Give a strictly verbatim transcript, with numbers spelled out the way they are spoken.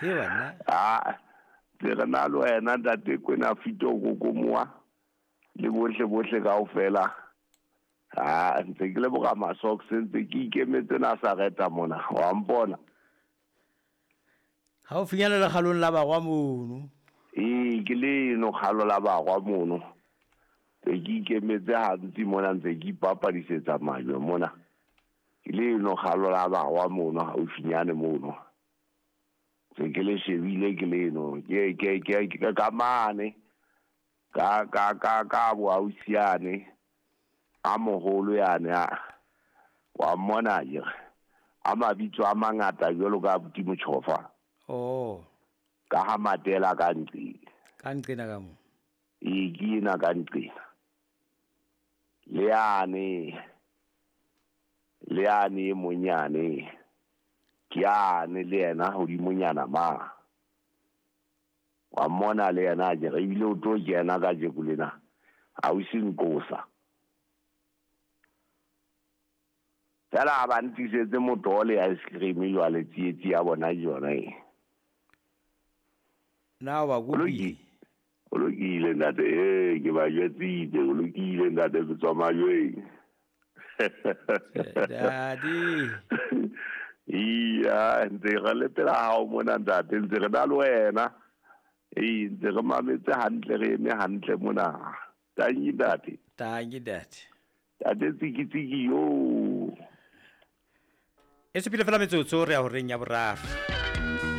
He wena. Ah, ntse re na le wena ntate Kwena Fito Kokomoa le bohle bohle kaofela. Ah, ntse ke leboga ma-socks, ntse ke ikemetse Nazareta mona, wa mpona. Ha o finyana lekgalong la bagwa mono. Ee, ke leno kgalo la bagwa mono. Ntse ke ikemetse gantsi mona, ntse ke ipapadisetsa majwe mona. Ke leno kgalo la bagwa mono, haufinyane mono. Ntse ke le shebile ke leno, ke ke ke ke ka mane. Ka ka ka ka boausiane a moholo yane a wa mmona akere. A mabitso a mangata jwalo ka abuti Motjhofa. Oh. Ka ha Matela ka nqena. Ka nqena ka mo. Ee, ke ena ka nqena. Le yane, le yane e monyane. Ke yane le yena hodimonyana ma. Wa mmona le yena akere, ebile o tlo kena kajeko lena. Ausi Nkosa. Fela ha ba ntlisetse motoho le ice cream jwale, tsietsi ya bona ke yona e. Na o ba kopile? O lokile ntate, ee, ke ba jwetsitse, o lokile ntate, ke tswa majweng. Daddy. Iya, ntse re le pela hao mona ntate, ntse re na le wena. Ee, ntse re mametse hantle, re eme hantle mona. Tanki ntate. Tanki ntate. Ntate tsiki tsiki yo. E sepile fela metsotso re ya horeng ya boraro.